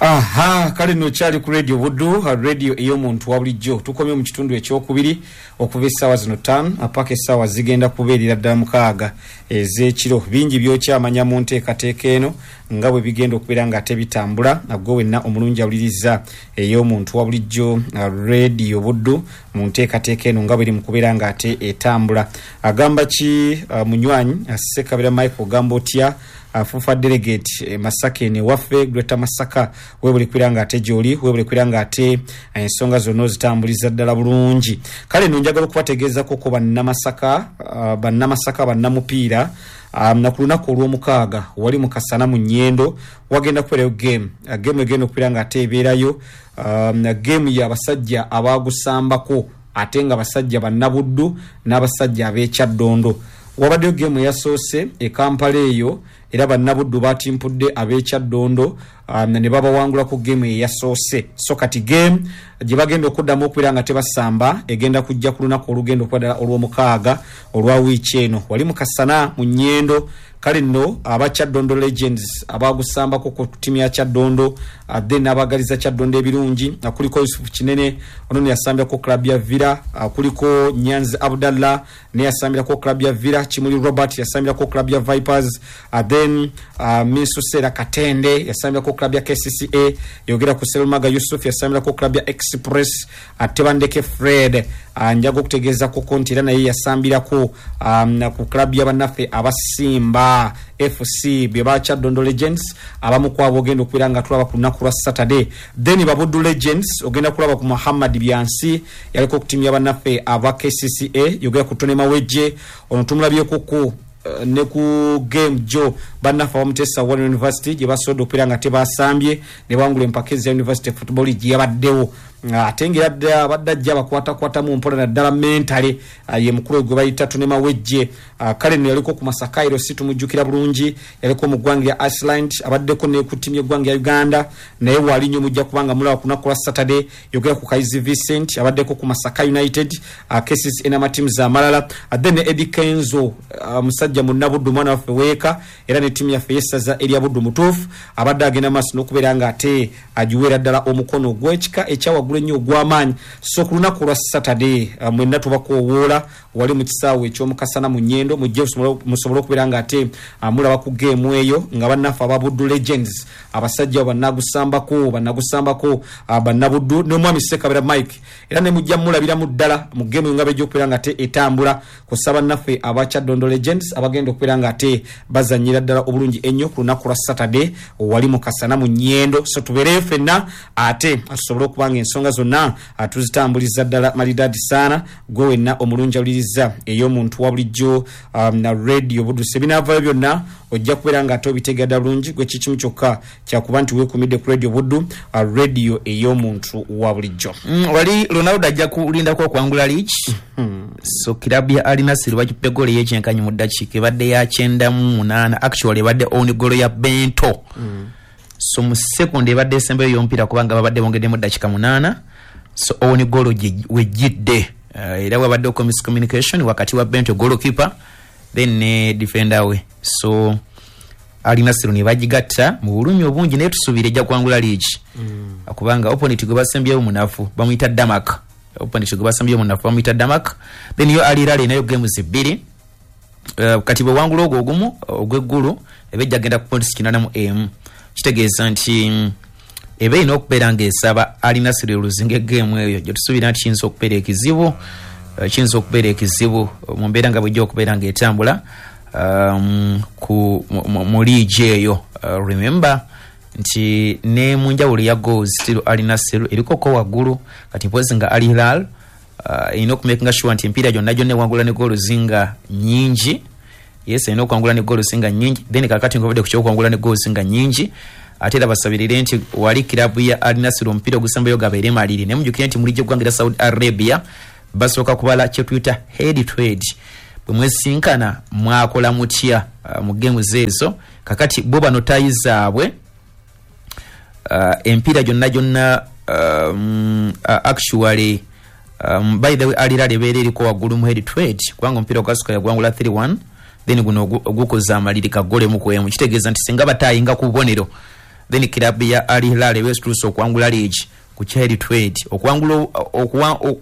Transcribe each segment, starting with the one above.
Aha, kale nno kyali ku Radio Buddu, radio ey'omuntu wa bulijjo. Tukomye mu kitundu ekyokubiri okuva essaawa zino 5 apaka essaawa zigenda kubeerera ddala 6 ez'ekiro. Bingi by'okyamanya mu nteekateeka eno nga bwe bigenda okubeera nga ate bitambula. Gwe wenna omulungi awuliriza ey'omuntu wa bulijjo, Radio Buddu, mu nteekateeka eno nga bweri mu kubeera nga ate etambula. Agamba ki munywanyi Ssekabira Michael, ogamba otya? Fufa delegate Masaka ene waffe Greater Masaka, webule kubeera nga ate gy'oli, webule kubeera nga ate ensonga zonna ozitambuliza ddala bulungi. Kale nno njagala okubategeezako ko bannamasaka, bannamasaka bannamupiira, na ku lunaku olw'omukaaga wali mu Kasana mu Nyendo wagenda kubeerayo game. Game egenda okubeera nga ate ebeerayo, game y'abasajja abagusambako ate nga basajja bannabuddu n'abasajja ab'ekyaddondo. Wabaddeyo game eyasoose e Kampala eyo, era bannabuddu batimpudde ab'ekyaddondo ne babawangula ku game eyasoose. So kati game gye bagenda okuddamu okubeera nga tebasamba egenda kujja ku lunaku olugenda okuba ddala olw'omukaaga olwa wiiki eno wali mu Kasana mu Nyendo. Kale nno aba Kyaddondo Legends abagusambako ku ttiimu ya Kyaddondo, then n'abagaliza Kyaddondo ebirungi, kuliko Yusuf Kinene, ono ne yasambirako club ya Villa, kuliko Nyanzi Abdallah ne yasambirako club ya Villa, Kimuli Robert yasambirako club ya Vipers, then Minsusera Katende yasambirako club ya KCCA, yogera ku Serumaga Yusuf yasambirako club ya Express, Tebandeke Fred, njaga okutegeeza koko nti era naye yasambirako ku club ya bannaffe abasimba FC bye ba Kyaddondo Legends. Abamu kwabo ogenda okubeera nga tulaba ku lunaku lwa Saturday. Then Babuddu Legends ogenda kulaba ku Muhammad Byansi, yaliko ku ttiimu ya bannaffe aba KCCA, yogera ku Tony Mawejje, ono tumulabyeko ku ne ku game jo bannaffe abamutesa One University gye basobodde okubeera nga tebasambye ne bawangula empaka eza University Football League yabaddewo. Ate ng'era abadde ajja abakwatakwatamu mpola naddala mentale, ye mukulu gwe bayita Tony Mawejje. Kale nno yaliko ku Masaka si tumujjukira bulungi, yaliko mu ggwanga lya Iceland, abaddeko ne ku ttiimu y'eggwanga lya Uganda, naye waali nnyo mujja kubanga mulaba ku lunaku lwa Saturday. Yogera ku Kaizi Vincent, abaddeko ku Masaka United, KCCA n'amatiimu amalala. Then ne Eddie Kenzo, musajja munnabuddu, mwana waffe weeka, era ne ttiimu yaffe y'essaza erya Buddu mutuufu, abadde agenda maaso n'okubeera nga ate agiweera ddala omukono ogw'ekika ekyawaggulu ennyo ogw'amaanyi. So ku lunaku lwa Saturday, mwenna tubakoowoola wali mu kisaawe eky'omukasana mu Nyendo, mujje musobole okubeera nga ate mulaba ku geemu eyo nga bannaffe aba Buddu Legends, abasajja bannagusambako bannabuddu n'omwami Ssekabira Mike, era ne mujja mulabiramu ddala mu geemu eyo nga bejja okubeera nga ate etambula kussa bannaffe aba Kyaddondo Legends abagenda okubeera nga ate bazannyira ddala obulungi ennyo ku lunaku lwa Saturday wali mu Kasana mu Nyendo. So tubeereyo ffenna ate tusobole okuba nga ensonga zonna tuzitambuliza ddala malidadi saana. Gwe wenna omulungi awuliriza ey'omuntu wa bulijjo, na Radio Buddu, ebinaavayo byonna ojja kubeera nga ate obitegeera ddala bulungi. Gwe kikimu kyokka kyakuba nti weekumidde ku Radio Buddu, radio ey'omuntu wa bulijjo. Wali Ronaldo ajja kulindako okuwangula league. So kilabu ya Al Nassr bakippe goal ey'ekyenkanyi mu ddakiika ebadde ya 98, actually ebadde own goal ya Bento. So mu second ebadde esembayo y'omupiira, kubanga babadde bongeddemu ddakiika 8, so own goal wejjidde. Era wabadde miscommunication wakati wa Bento goalkeeper then ne defender we, so Al Nassr ne bagigatta mu bulumi obungi, naye tusuubira ejja kuwangula league, kubanga opponent gwe basembyeyo munafu, bamuyita Damak. Opponent gwe basembyeyo munafu, bamuyita Damak. Then yo Al Hilal nayo games 2. Kati bwe wangula ogwo ogumu ogw'eggulu, eba ejja genda ku points 81, kitegeeza nti eba erina okubeera ng'esaba Al Nassr oluzinga egeemu eyo gye tusuubira nti kiyinza okubeera ekizibu, kiyinza okubeera ekizibu mu mbeera nga bwejja okubeera ng'etambula mu liigi eyo. Remember nti ne mu njawulo ya goals still Al Nassr erikoko waggulu. Kati mpozi nga Al Hilal erina okumakinga sure nti emipiira gyonna gyonna ewangula ne goals nga nyingi. Yes, erina okuwangula ne goals nga nyingi. Then kakati nga ku kyokuwangula ne goals nga nyingi, ate era basabirire nti wali kilabu ya Al Nassr omupiira ogusembayo gabeere maliri. Naye mujjukire nti mu liigi eggwanga erya Saudi Arabia basooka kubala kyetuyita head to head, bwe mwesinkana mwakola mutya mu games ezo. Kakati bo bano tie zaabwe, empiira gyonna gyonna, actually, by the way, Al Hilal ebeera eriko waggulu mu head to head, kubanga omupiira ogwasooka yagwangula 3-1, then guno ogukoze amaliri kagolemu ku emu, kitegeeza nti singa batayinga ku bubonero. Then club ya Al Hilal ewesituuse okuwangula league ku head to head. Okuwangula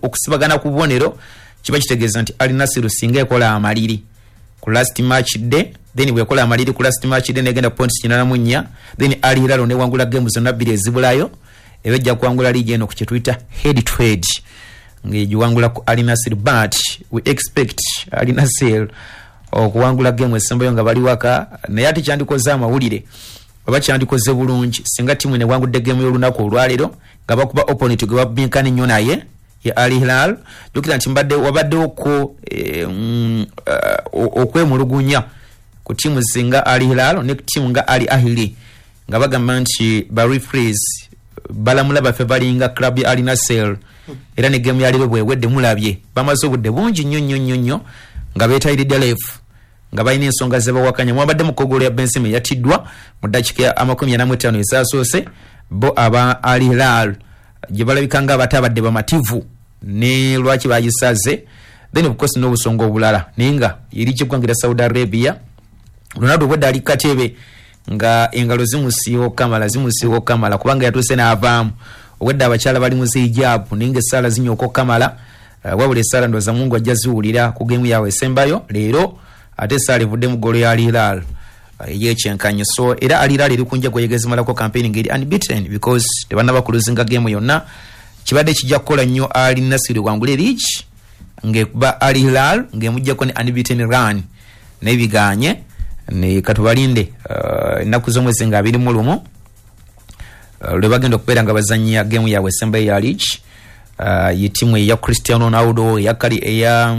okusibagana ku bubonero kiba kitegeeza nti Al Nassr singa ekola amaliri ku last match day, then bwekola amaliri ku last match day negenda points 84, then Al Hilal newangula game zonna bbiri ezibulayo, eba ejja kuwangula league eno ku kye tuyita head to head ng'egiwangula ku Al Nassr. But we expect Al Nassr okuwangula game esembayo nga bali waka, naye ate kyandikoze amawulire oba kyandikoze bulungi singa ttiimu newangudde game y'olunaku olwaleero nga bakuba opponent gwe babinkana ennyo naye ye Al Hilal. Jjukira nti mbadde wabaddewoko okwemulugunya ku ttiimu singa Al Hilal ne ttiimu nga Al Ahly, nga bagamba nti ba referees balamula baffe balinga club ya Al Nassr, era ne game ya leero bwewedde mulabye bamaze obudde bungi nnyo nnyo nnyo nnyo nga beetayiridde ref, nga balina ensonga zebawakanya. Mwabadde mu kogolo ya Benzema yattiddwa mu ddakiika 45 ezaasoose, bo aba Al Hilal gye balabika nga abatabadde bamativu ne lwaki bagisaze, then of course n'obusonga obulala. Naye nga eri ky'eggwanga erya Saudi Arabia, Ronaldo obwedda ali katebe nga engalo zimusiiwa okukamala, zimusiiwa okukamala, kubanga yatuuse n'avaamu. Obwedda abakyala bali mu zihijabu naye nga essaala zinyooka okukamala. Wabula essaala ndowooza Mungu ajja ziwulira ku geemu yaabwe esembayo leero, ate essaala evudde mu ggolo ya Al Hilal ey'ekyenkanyi. So era Al Hilal eri ku njago yegezimalako campaign ng'eri unbeaten because tebannaba kuluzinga geemu yonna. Kibadde kijja kukola nnyo Al Nassr wangule league ng'ekuba Al Hilal ng'emuggyako ne unbeaten run, naye biganye. Ne katubalinde ennaku z'omwezi nga 21 lwe bagenda okubeera nga bazannya geemu yaabwe esembayo ya league. Ye ttiimu eya Cristiano Ronaldo, eya kali eya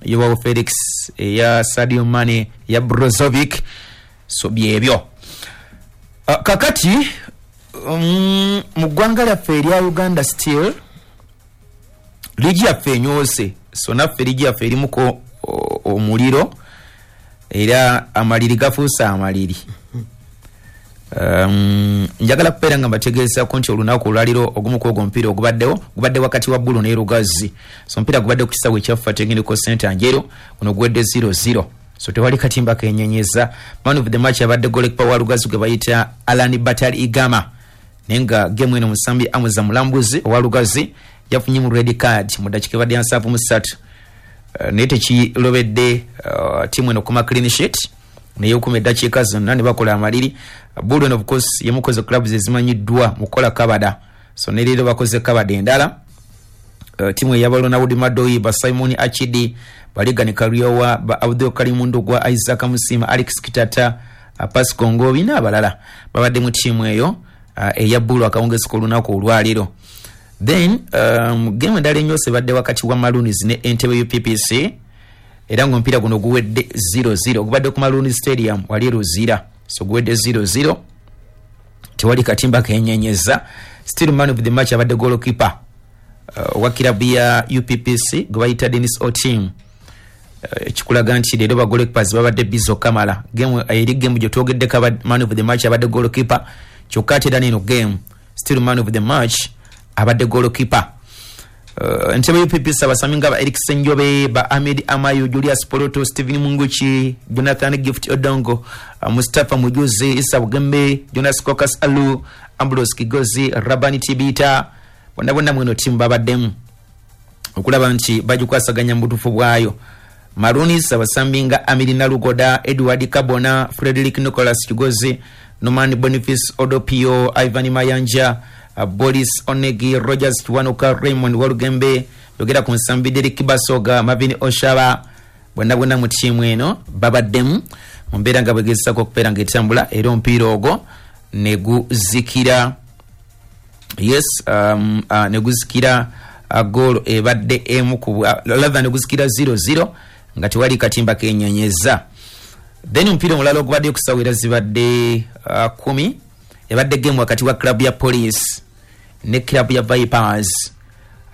Joao Felix, eya Sadio Mane, eya Brozovic. So byebyo. Kakati mu ggwanga lyaffe erya Uganda still liigi yaffe enyoose, so naffe liigi yaffe erimuko omuliro era amaliri gafuuse amaliri. Njagala kubeera nga mbategeezako nti olunaku olwaliro ogumu ku ogwo omupiira ogubaddewo gubadde wakati wa Bulu ne Lugazi. So omupiira gubadde ku kisaawe ekyaffe Technical Center Njeru, guno guwedde 0-0, so tewali katimba kenyenyeza. Man of the match abadde goalkeeper wa Lugazi gwe bayita Alan Batali Igama, naye nga game eno musambi Amuza Mulambuzi owa Lugazi yafunye mu red card mu ddakiika ebadde ya 73. Naye tekirobedde ttiimu eno okuma clean sheet, naye okuma eddakiika zonna ne bakola amaliri. Bulu eno of course yemukoze clubs ezimanyiddwa mu kukola kabada, so ne leero bakoze kabada endala. Ttiimu eyaba Ronald Madoi, ba Simon Achidi, Baligani Kariowa, ba Abdul Karim Ndugwa, Isaac Musima, Alex Kitata, Pascal Ngobi n'abalala babadde mu ttiimu eyo eya Bulu akawungezi k'olunaku olwaleero. Then game endala enyoose ebadde wakati wa Maroons ne Entebbe UPPC, era ng'omupiira guno guwedde 0-0, gubadde ku Maroons Stadium wali e Luzira, so guwedde 0-0, tewali katimba kenyenyeza. Still man of the match abadde goalkeeper owa kirabu ya UPPC gwe bayita Dennis Otim. Kikulaga nti leero ba goalkeepers babadde busy okamala. Game eri game gye twogeddeko man of the match abadde goalkeeper, kyokka ate era n'eno game still man of the match abadde goalkeeper. Entebbe UPPC abasambi nga ba Eric Senjobe, ba Ahmed Amayo, Julius Poloto, Stephen Munguchi, Jonathan Gift Odongo, Mustafa Mujuzi, Isa Bugembe, Jonas Kokas Alu, Ambrose Kigozi, Rabani Tibita, bonna bonna mweno ttiimu babaddemu okulaba nti bagikwasaganya mu butuufu bwayo. Maroons abasambi nga Amiri Nalugoda, Edward Kabona, Frederick Nicholas Kigozi, Norman Boniface Odopio, Ivan Mayanja, Boris Onegi, Rogers Kiwanuka, Raymond Walugembe, yogera ku nsambi Derek Basoga, Marvin Oshaba, bonna bonna mu ttiimu eno babaddemu mu mbeera nga bwegezesaako okubeera ng'etambula, era omupiira ogwo ne guzikira. Yes, ne guzikira goal ebadde emu ku rather ne guzikira 0-0 nga tewali katimba kenyenyeza. Then omupiira omulala ogubadde ku era zibadde 10 ebadde game wakati wa club ya Police ne club ya Vipers.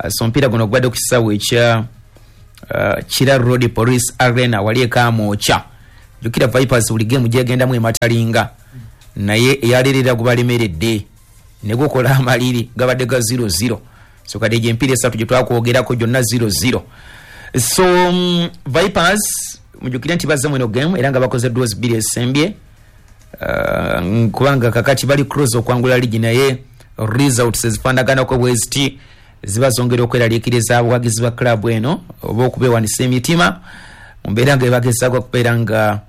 So omupiira guno gubadde ku kisaawe ekya Kira Road Police Arena wali e Kamwokya. Jjukira Vipers buli game gyegendamu ematalinga, naye eyaleerera gubalemeredde ne gukola amaliri gabadde ga 0-0. So kati egyo emipiira esatu gye twakwogerako gyonna 0-0. So Vipers mujjukire nti bazze mu eno game era nga bakoze draws bbiri esembye. Kubanga kakati bali close okwangula ligi, naye results ezifaanaganako bweziti ziba zongera okweraliikiriza abawagizi ba club eno oba okubeewanisa emitima mu mbeera nga ebagezaako okubeera nga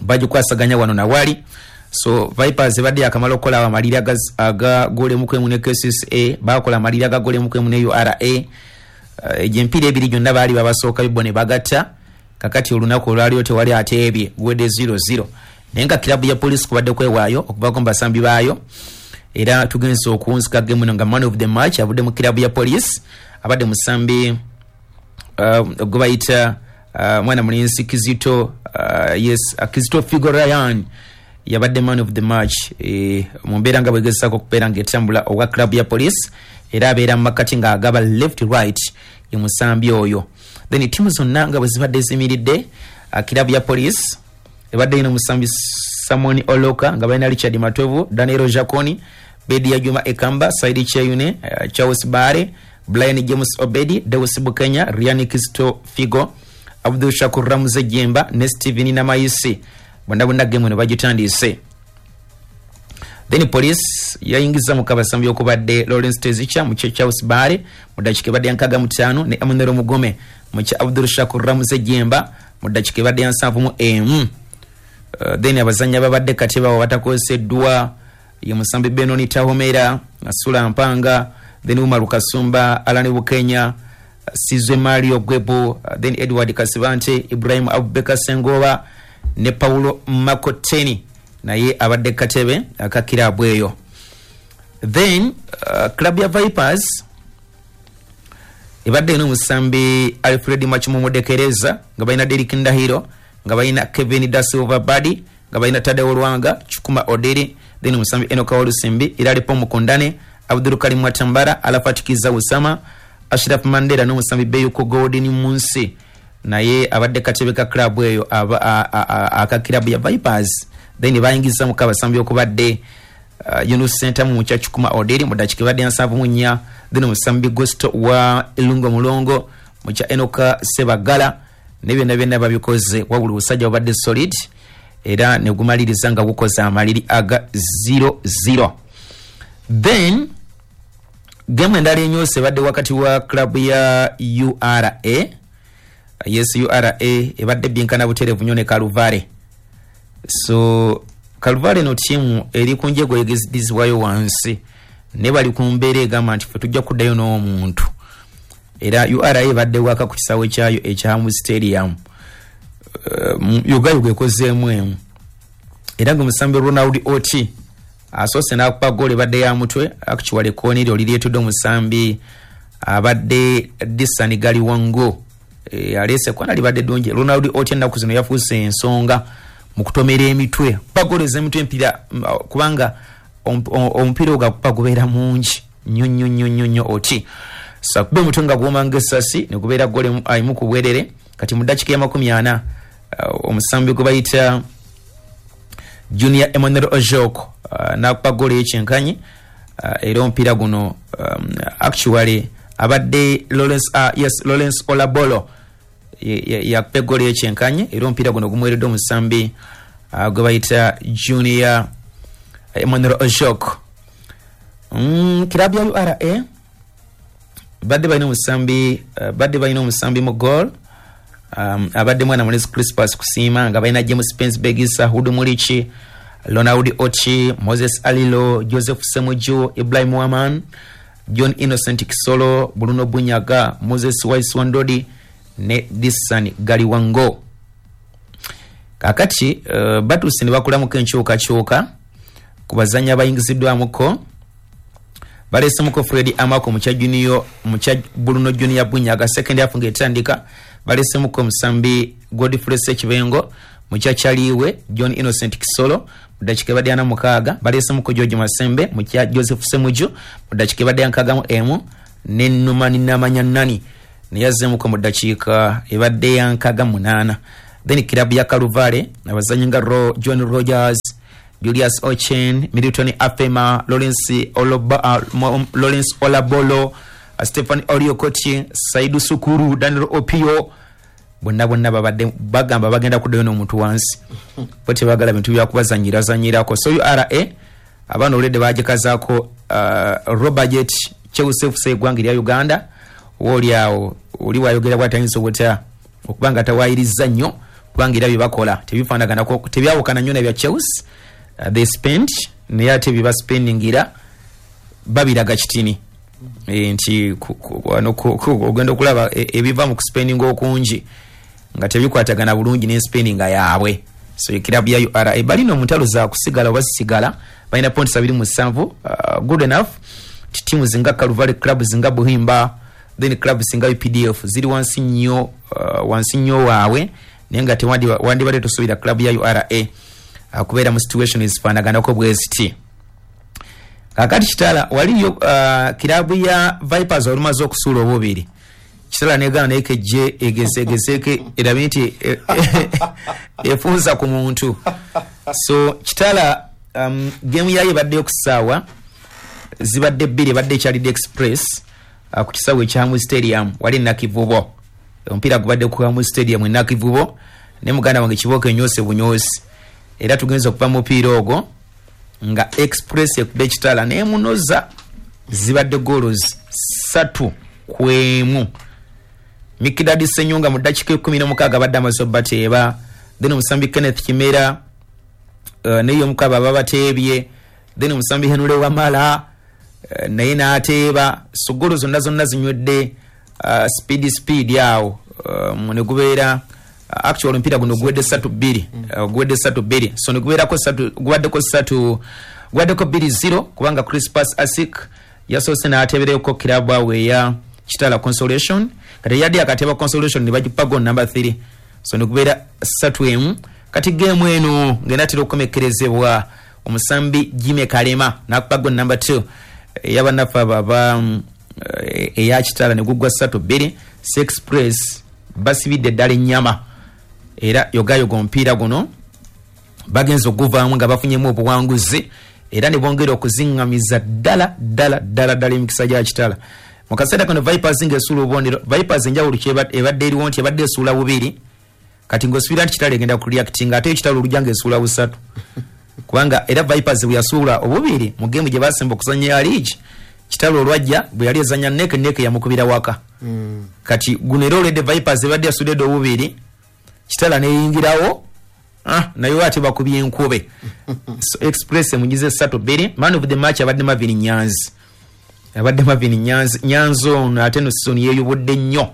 bagikwasaganya wano nawali. So Vipers ebadde yakamala okukola amaliri aga goal 1 ne KCCA, bakola amaliri aga goal 1 ne URA. Egyo emipiira ebiri gyonna baali babasooka bibo ne bagatta. Kakati olunaku olwaliyo tewali ateebye, guwedde 0-0, naye nga kirabu ya Police kubadde kwewaayo okuvaako mu basambi baayo. Era tugenze okuwunzika game eno nga man of the match avudde mu kirabu ya Police abadde musambi gwe bayita mwana mulenzi Kizito, yes, Kizito Figo Ryan yabadde man of the match mu mbeera nga bwegezaako okubeera ng'etambula owa club ya Police, era abeera mu makati ng'agaba left right, ye musambi oyo. Then tiimu zonna nga bwe zibadde zimiridde, kirabu ya Police ebadde ina omusambi Samoni Oloka, nga balina Richard Matovu, Daniel Jaconi, Bedia Juma Ekamba, Saidi Cheyune, Charles Bare, Brian James Obedi, Deus Bukenya, Rian Kisto Figo, Abdul Shakur Ramuze Jemba ne Steven Namayisi. Bonna bonna game eno bagitandise. Then Police yayingiza mu kabasambi okubadde Lawrence Tezicha mu Charles Bare mu dakiika ebadde ya 65, ne Emmanuel Mugome mu kya Abdul Shakur Ramuze Jemba mu dakiika ebadde ya 71. Then abazannyi ababadde kati baabo batakozeddwa ye musambi Benoni Tahomera, Sula Mpanga, then Umaru Kasumba, Alan Bukenya, Sizwe Mario Gwebu, then Edward Kasibante, Ibrahim Abubakar Sengoba ne Paulo Makoteni naye abadde katebe aka kirabu eyo. Then club ya Vipers ebadde ina omusambi Alfred Machimumudekereza, nga balina Derrick Ndahiro, nga balina Kevin Da Silva Badi, nga balina Tadeo Lwanga, Chukuma Oderi, then omusambi Enoka Walusimbi, Iralipo Mukundane, Abdul Karim Watambara, Alafat Kiza Usama, Ashraf Mandela n'omusambi Beyuko Golden Munsi naye abadde katebe ka club eyo aka club ya Vipers. Then bayingiza abasambi okubadde Yunus Sentamu mu kya Chukuma Oderi mu dakiika ebadde ya 74, then omusambi Gusto wa Ilungo Mulongo mu kya Enoka Sebagala, ne byonna byonna babikoze. Wabula obusajja bubadde solid era ne gumaliriza nga gukoze amaliri aga 0-0. Then game endala enyoose ebadde wakati wa club ya URA, yes, URA ebadde binkana butereevu nnyo ne Kaluvale. So Kaluvale no tiimu eri ku njego egezidizibwayo wansi, ne bali ku mbeera egamba nti ffe tujja kuddayo n'omuntu. Era URA ebadde waka ku kisaawe kyayo ekya Hamu Stadium, Ugayuga ekozeemu emu, era nga omusambi Ronald Oti asoose n'akuba goolo ebadde ya mutwe. Actually ekooneri oliryetudde omusambi abadde Disani Galiwango, aleese kona libadde ddungi. Ronald Oti ennaku zino yafuuse ensonga mu kutomera emitwe, kuba goolo ez'emitwe empira, kubanga omupiira ogwo akuba gubeera mungi nnyo nnyo nnyo nnyo nnyo. Oti so akuba omutwe nga guwoma ng'essasi ne gubeera goolo emu ku bwerere. Kati mu ddakiika ya 40, omusambi gwe bayita Junior Emmanuel Ojok n'akuba goolo ey'ekyenkanyi, era omupiira guno actually abadde Lawrence, yes, Lawrence Olabolo yakuba egoolo ey'ekyenkanyi, era omupiira guno gumuweereddwa omusambi gwe bayita Junior Emmanuel Ojok. Kirabu ya URA badde balina omusambi mu goal, abadde mwana mulezi Crispus Kusiima, nga balina James Pensberg, Hudu Mulichi, Ronald Ochi, Moses Alilo, Joseph Semuju, Ibrahim Waman, John Innocent Kisolo, Bruno Bunyaga, Moses Waiswandodi ne Dissan Galiwango. Kakati batuuse ne bakolamuko enkyukakyuka ku bazannyi abayingiziddwamuko. Baleesemuko Fred Amako mukya Junior, mukya Bruno Junior Bunyaga. Second half ng'etandika, baleesemuko omusambi Godfrey Sekibengo mukya Kyaliwe John Innocent Kisolo mu ddakiika ebadde 46. Baleesemuko George Masembe mukya Joseph Semuju mu ddakiika ebadde ya 61, ne Numani Namanya Nani naye azzeemuko mu ddakiika ebadde ya 68. Then kirabu ya Kaluvale abazannyi nga John Rogers, Julius Ochen, Milton Afema, Lawrence Olabolo, Stephen Oriokoti, Saidu Sukuru, Daniel Opio. Bonna bonna babadde bagamba bagenda kuddayo n'omuntu wansi, bo tebagala bintu byakubazanyirazanyirako. So URA abaana olwedde bagikazaako Robajet Chelsea FC eggwanga erya Uganda. Oba awo oli wayogera bwatayinza obutya okuba nga tawayiriza nnyo, kubanga era byebakola tebifaanaganako, tebyawukana nnyo nabya Chelsea. They spend, naye ate byebaspendingira babiraga kitini. Nti ogenda okulaba ebiva mu kuspendinga okungi nga tebikwatagana bulungi n'enspendinga yaabwe. So ekirabu ya URA balina omuntalo za kusigala oba sisigala, balina points 27, good enough. Tiimu zinga Calvary Club, zinga Buhimba, then club singa UPDF ziri wansi nnyo, wansi nnyo waabwe, naye nga tewandibadde tosuubira club ya URA kubeera mu situation ezifaanaganako bwe ziti. Kakati Kitala waliyo kirabu ya Vipers olumaze okusuula obubiri, Kitala negana naye kejje egezeegezeke erabe nti efunza ku muntu. So Kitala game yayo ebaddeyo ku ssaawa zibadde 2, ebadde ekyalidde Express ku kisaawe ekya Hamu Stadium wali Nakivubo. Omupiira gubadde ku Hamu Stadium e Nakivubo, ne muganda wange Kibooko enyoose bunyoosi, era tugenza okuva mu mupiira ogwo nga Express ekubba Ekitala nemunoza, zibadde goals 3-1. Mikidadi Senyonga mu ddakiika 16 abadde amaze obbateeba, then omusambi Kenneth Kimera naye omukaba babateebye, then omusambi Henry Wamala naye n'ateeba. So goolo zonna zonna zinywedde speed speed awo, ne gubeera actual omupiira guno guwedde 3-2, guwedde 3-2. So ne gubeerako 3, gubaddeko 3, gubaddeko 2-0, kubanga Crispas Asik yasoose n'ateebereko kirabu awo eya Kitala Consolation. Kati yadde akateeba Consolation ne bagipa goal number 3, so ne gubeera 3-1. Kati geemu eno ng'enaatera okukomekkerezebwa, omusambi Jimmy Kalema n'akupa goal number 2 ey'abannaffe abo aba eya Kitala, ne guggwa 3-2. Express basibidde ddala ennyama, era yogayoga omupiira guno bagenza okuguvaamu nga bafunyemu obuwanguzi, era ne bongera okuziŋŋamiza ddala ddala ddala ddala emikisa gya Kitala. Mu kaseera kano Vipers ng'esuula obubonero. Vipers enjawulo ebadde eriwo nti ebadde esuula bubiri, kati ng'osuubira nti Kitala egenda kureactinga, ate Ekitala olujja ng'esuula busatu, kubanga era Vipers bwe yasuula obubiri mu geemu gye basemba okuzannya ya liigi, Kitala olwajja bwe yali ezannya neke neke yamukubira waka. Kati guno era olwedde Vipers ebadde yasuudde obubiri, Kitala neyingirawo, naye ate bakubye enkube. So Express emugize 3-2. Man of the match abadde Marvin Nyanzi, abadde Marvin Nyanzi. Nyanzi ono ate no season yeeyubudde nnyo.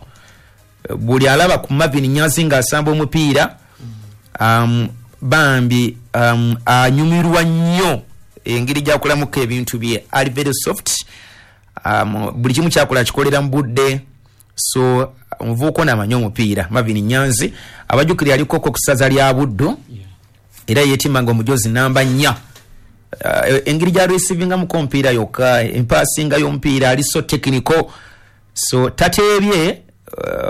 Buli alaba ku Marvin Nyanzi ng'asamba omupiira, bambi anyumirwa nnyo engeri gyakolamuko ebintu bye, ali very soft, buli kimu kyakola kikolera mu budde. So omuvubuka ono amanyi omupiira, Marvin Nyanzi. Abajjukira aliko ku ssaza lya Buddu, era yeetimanga omujozi namba 4. Engeri gy'areceivingamuko omupiira yokka, empaasinga y'omupiira, ali so technical. So tateebye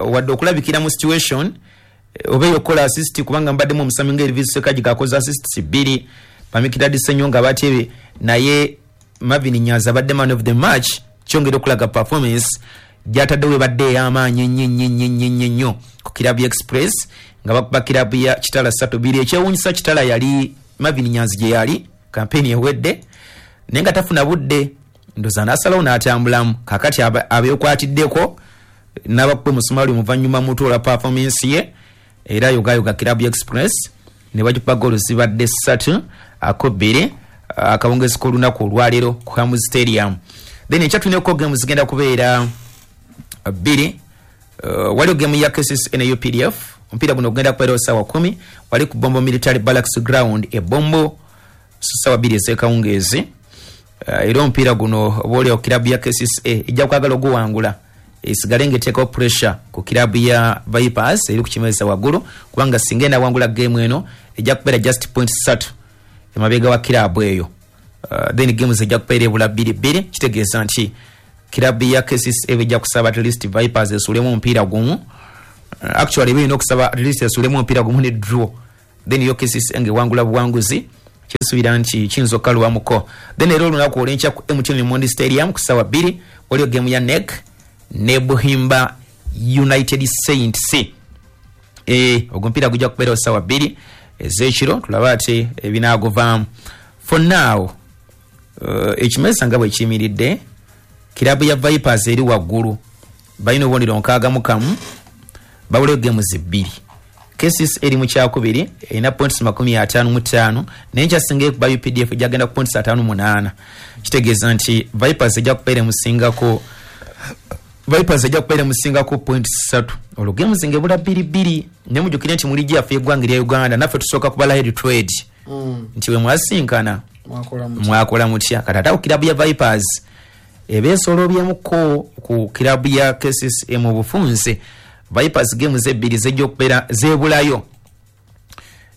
wadde okulabikira mu situation oba eyokukola assist, kubanga mbaddemu omusambi nga Elvis Sekaji gakoze assists 2, Bamikidadi Senyonga bateebye, naye Marvin Nyanzi abadde man of the match, kyongera okulaga performance gyataddewo ebadde ey'amaanyi ennyo ennyo ennyo ennyo ennyo nnyo ku kirabu ya Express nga bakuba kirabu ya Kitala 3-2. Ekyewuunyisa, Kitala yali Marvin Nyanzi gye yali kampeyini ewedde, naye nga tafuna budde, ndoza n'asalawo n'atambulamu. Kakati abeekwatiddeko n'abakuba omusumaali omuvannyuma mutuola performance ye, era yogayoga kirabu ya Express ne bagikuba goolo zibadde 3-2 akawungezi k'olunaku olwaleero ku Hamu Stadium. Then enkya tulineko game zigenda kubeera 2. Waliwo game ya KCCA ne UPDF. Omupiira guno ogenda kubeerawo ssaawa 10 wali ku Bombo Military Barracks Ground e Bombo, ssaawa 2 ez'ekawungeezi. Era omupiira guno oba oliawo kirabu ya KCCA ejja kwagala oguwangula esigale ng'eteekawo pressure ku kirabu ya Vipers eri ku kimeeza waggulu, kubanga singa enawangula geemu eno ejja kubeera just point 3 emabega wa kirabu eyo. Then games ejja kubeera ebula 2-2, kitegeeza nti kirabu ya KCCA ejja kusaba at least Vipers esuulemu omupiira gumu. Actually eba erina okusaba at least esuulemu omupiira gumu ne draw, then yo KCCA ng'ewangula buwanguzi, kisuubira nti kiyinza okukalubamuko. Then era olunaku olw'enkya ku MTN Mondi Stadium ku ssaawa 2 waliyo geemu ya NEC ne Buhimba United Saints. Ogwo omupiira gujja kubeerawo ssaawa 2 ez'ekiro, tulabe ate ebinaaguvaamu. For now, ekimesa nga bwe kiyimiridde, kirabu ya Vipers eri waggulu, balina obubonero 61, babulayo games 2. KCCA eri mu kyakubiri, erina points 55, naye nkyasinga ekuba UPDF ejagenda ku points 58. Kitegeeza nti Vipers ejja kubeera emusingako, Vipers ejja kubeera emusingako points 3. Olwo games ng'ebula 2-2. Naye mujjukire nti mu liigi yaffe y'eggwanga erya Uganda naffe tusooka kubala head to head, nti bwe mwasinkana mwakola mutya. Kati ate awo kirabu ya Vipers eba esolobyemuko ku kirabu ya KCCA mu bufunze. Vipers games ebbiri zejja okubeera zeebulayo,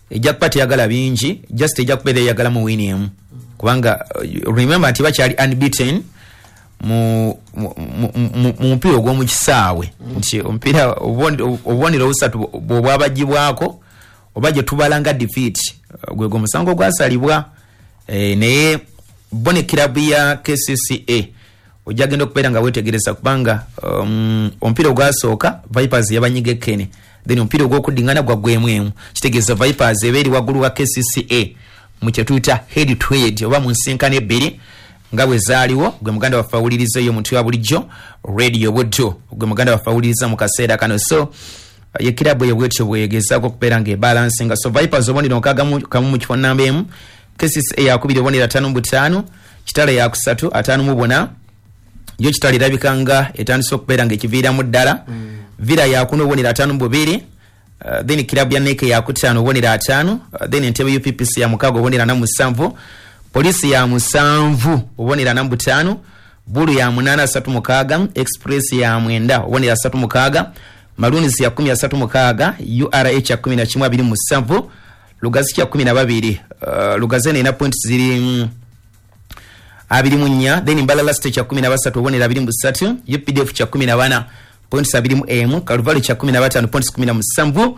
ejja kuba teyagala bingi, just ejja kubeera eyagala mu win emu, kubanga remember nti bakyali unbeaten mu mupiira ogw'omu kisaawe, nti omupiira obubonero obusatu bw'obwabagibwako oba gye tubala nga defeat, gwe gwo musango ogwasalibwa. Naye bo ne kirabu ya KCCA ojja genda okubeera nga weetegereza, kubanga omupiira ogwasooka Vipers yabanyiga ekkene, then omupiira ogw'okuddingana gwaggwemu emu. Kitegeeza Vipers eba eri waggulu wa KCCA mu kye tuyita head to head oba mu nsinkano ebbiri nga bwe zaaliwo. Gwe muganda waffe awuliriza eyo omuntu wa bulijjo Radio Buddu, gwe muganda waffe awuliriza mu kaseera kano. So ye kirabu eyo bwetyo bwegezaako okubeera nga ebalansinga. So Vipers obubonero 61 mu kifo namba 1, KCCA yakubiri obubonero 55, Kitale yakusatu 54. Yo Kitale erabika nga etandise okubeera nga ekiviiramu ddala. Villa yakuna obubonero 52, then kirabu ya Neke yakutaano obubonero 5, then Entebbe UPPC ya 6 obubonero 47, Poliisi ya 7 obubonero 45, Bulu ya 8 36, Express ya 9 obubonero 36, Maroons ya 10 36, URH ya 11 27, Lugazi ya 12. Lugazi erina points ziri 24, then Mbalala State ya 13 obubonero 23, UPDF ya 14 points 21, Kaluvali ya 15 points 17,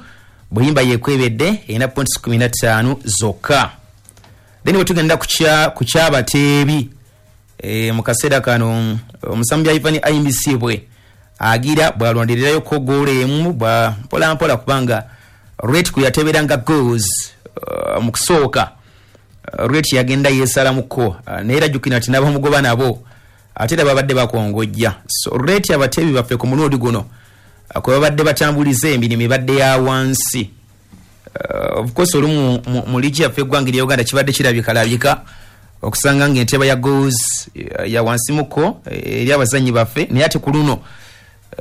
Buhimba yekwebedde erina points 15 zokka. Then bwe tugenda ku kyabateebi, mu kaseera kano omusambi Ivan Ayimbisibwe agira bw'alwandirirayo ko goolo emu bwa mpola mpola, kubanga rate kwe yateberanga goals mu kusooka, rate yagenda yeesalamuko, naye era jjukira nti n'abamugoba nabo ate era babadde bakongojja. So rate abateebi baffe ku mulundi guno kwe babadde batambuliza emirimu ebadde ya wansi. Of course olumu mu liigi yaffe eggwanga erya Uganda kibadde kirabikalabika okusanga ng'enteba ya goals ya wansimuko eri abazannyi baffe, naye ate ku luno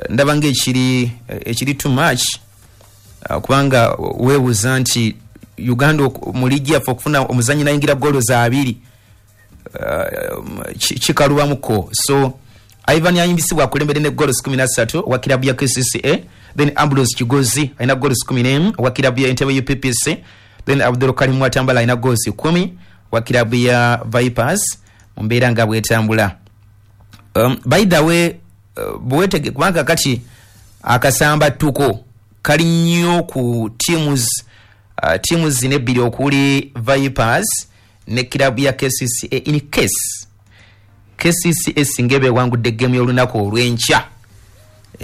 ndaba ng'ekiri ekiri too much, kubanga weebuuza nti Uganda mu liigi yaffe okufuna omuzannyi nayingira goolo za 2 kikalubamuko. So Ivan Ayimbisibwe akulembedde ne goals 13 wa kirabu ya KCCA, then Ambrose Kigozi alina goals 11 wa kirabu ya Entebbe UPPC, then Abdul Karim Watambala alina goals 10 wa kirabu ya Vipers. Mu mbeera nga bwetambula. By the way, bwetege kubanga kati akasamba tuko kali nnyo ku teams zino ebbiri okuli Vipers ne kirabu ya KCCA. In case KCCA singa eba ewangudde game y'olunaku olw'enkya,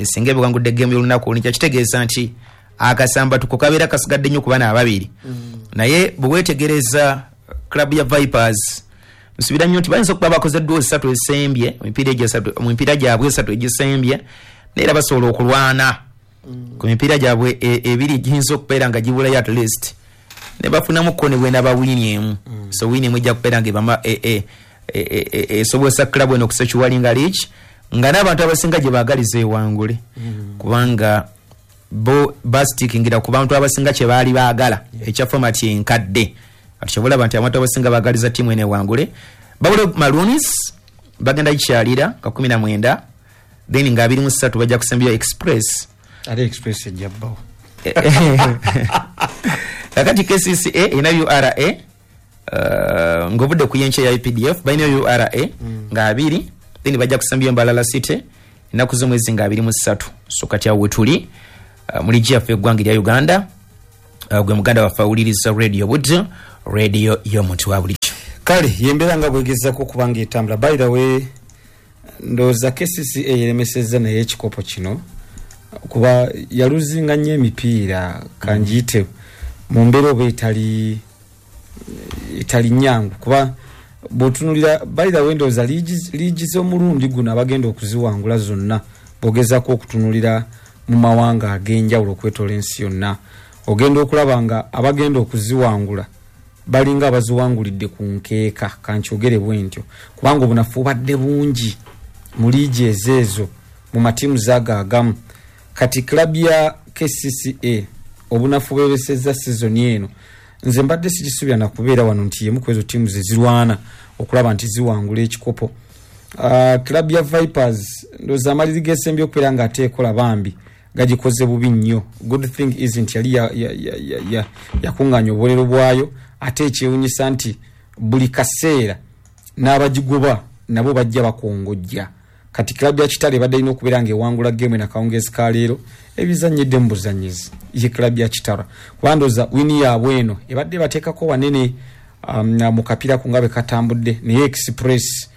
singa eba ewangudde game y'olunaku olw'enkya, kitegeeza nti akasamba tuko kabeera kasigadde nnyo ku baana ababiri. Naye bwe weetegereza club ya Vipers, nsuubira nnyo nti bayinza okuba bakoze draw 3 esembye mu mipiira gyabwe 3 egisembye, naye era basobola okulwana ku mipiira gyabwe ebiri giyinza okubeera nga gibulayo at least ne bafunamuko ne bwena ba win emu. So win emu ejja kubeera nga ebama esobozesa club eno okusecuringa league, nga n'abantu abasinga gye baagaliza ewangule, kubanga bo bastickingira ku bantu abasinga kye baali baagala ekya format enkadde. Kati kyova olaba nti abantu abasinga baagaliza ttiimu eno ewangule. Babule Maroons bagenda gikyalira ka 19, then nga 23 bajja kusembya Express. Ate Express ejja bbawo. Kakati KCCA erina URA, ng'ovudde ku yenkya ya UPDF balina URA nga 2, then bajja kusembya Mbalala City ennaku z'omwezi nga 23. So kati awo wetuli mu liigi yaffe eggwanga erya Uganda. Gwe muganda waffe awuliriza Radio Buddu, radio y'omuntu wa bulijjo. Kale yembeera nga bwegezako okuba nga etambula. By the way, ndowooza KCCA yeremesezza naye ekikopo kino. Kuba yaluzinga nnyo emipiira, kanjiyite mu mbeera oba etali nyangu, kuba bw'otunuulira, by the way, ndowooza liigi z'omulundi guno abagenda okuziwangula zonna, bw'ogezaako okutunuulira mu mawanga ag'enjawulo okwetoola ensi yonna, ogenda okulaba nga abagenda okuziwangula balinga abaziwangulidde ku nkeeka, kankyogere bwe ntyo, kubanga obunafu bubadde bungi mu liigi ezeezo mu matiimu zaago agamu. Kati club ya KCCA obunafu bwebesezza sizoni eno, nze mbadde sigisuubira nakubeera wano nti yemu ku ezo ttiimu ze zirwana okulaba nti ziwangula ekikopo. Club ya Vipers, ndowooza amaliri g'esembye okubeera nga ate ekola, bambi gagikoze bubi nnyo. Good thing is nti yali yakuŋŋaanya obubonero bwayo, ate ekyewunyisa nti buli kaseera n'abagigoba nabo bajja bakongojja. Kati club ya Kitale ebadde erina okubeera ng'ewangula game nakawungeezi ka leero, ebizannyidde mu buzannyizi ye club ya Kitara, kuba ndowooza wini yaabwe eno ebadde bateekako wanene mu kapiira ko nga bwe katambudde. Naye Express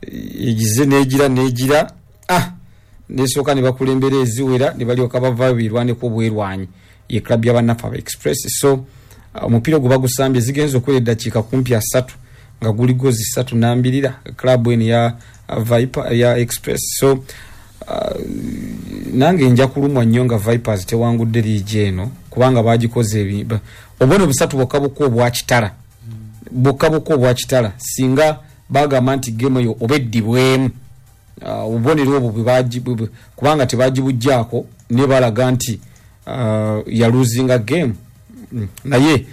egize negira nesooka ne bakulembera eziwera, ne balyoka bavaayo beerwaneko obwerwanyi, ye club y'abannaffe aba Express. So omupiira ogwo bagusambye, zigenza okwera eddakiika kumpi 30 nga guli gozi 3 nambirira club eno ya Viper, ya Express. So nange nja kulumwa nnyo nga Vipers tewangudde liigi eno, kubanga bagikoze obubonero busatu bwokka bwokka obwa Kitara, bwokka bwokka obwa Kitara. Singa bagamba nti game eyo oba eddibwemu, obubonero obwo kubanga tebagibuggyako, ne balaga nti yaluzinga game. Naye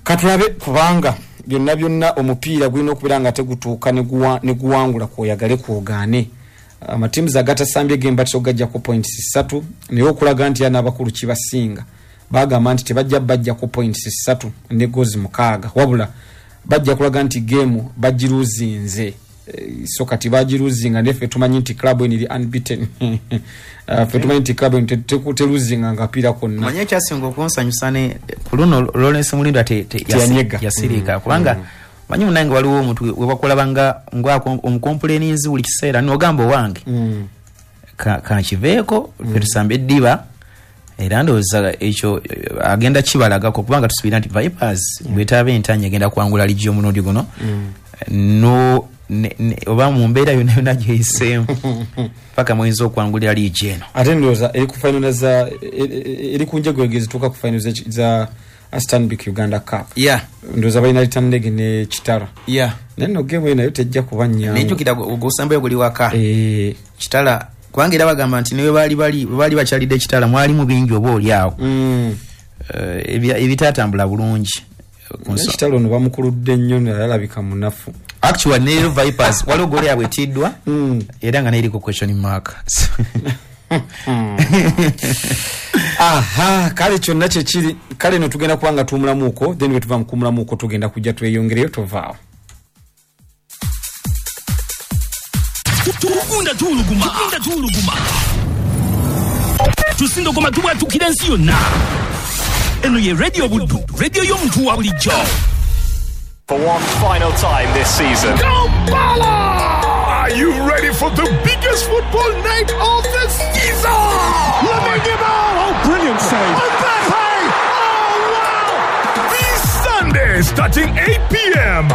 katulabe, kubanga byonna byonna omupiira gulina okubeera nga tegutuuka ne guwangula kwoyagale kwogaane. Amatiimu agatasambye game batera okugaggyako points 3, naye okulaga nti n'abakulu kibasinga, bagamba nti tebajja bajjako points 3 ne gozi 6, wabula bajja kulaga nti game bagiruzinze. So kati bagiruzinga, neffe tumanyi nti club eno eri unbeaten. Ffe tumanyi nti club eno teruzinga nga kapiira konna. Manyi ekyasinga okunsanyusa ne ku luno, Lawrence Mulindwa Teyanyega. Yasirika, kubanga manyi munange waliwo omuntu webakulaba nga omukompuleninzi buli kiseera, nogamba owange kankiveeko, ffe tusambe eddiba. Era ndowooza ekyo agenda kibalagako, kubanga tusuubira nti Vipers bwetaaba entanya egenda kuwangula ligi omulundi guno, no oba mu mbeera yonna yonna gyeyiseemu paka muyinza okuwangulira liigi eno. Ate ndowooza eri ku final za eri ku njegwege zituuka ku final za Stanbic Uganda Cup. Ndowooza balina return leg ne Kitara. Naye nno game eyo nayo tejja kuba nnyangu. Nejjukira ogusembayo guli waka. Kitara, kubanga era bagamba nti ne bwe baali bakyalidde Kitara mwalimu bingi oba oli awo ebitatambula bulungi. Naye Kitara ono bamukuludde nnyo, naye alabika munafu. Actually ne Vipers waliwo goal yaabwe etiddwa era nga neriko question mark. Aha, kale kyonna kyekiri. Kale no tugenda kuba nga tuwumulamuuko, then bwe tuva mu kuwumulamuuko tugenda kujja tweyongereyo, tovaawo. Tugunda tuwuluguma, tugunda tuwuluguma, tusindogoma, tubwatukira ensi yonna. Eno ye Radio Buddu, radio y'omuntu wa bulijjo. For one final time this season. Are you ready for the biggest football night of the season? Lamine Yamal! Oh, brilliant save! Mbappe! Oh, wow! This Sunday, starting 8 p.m.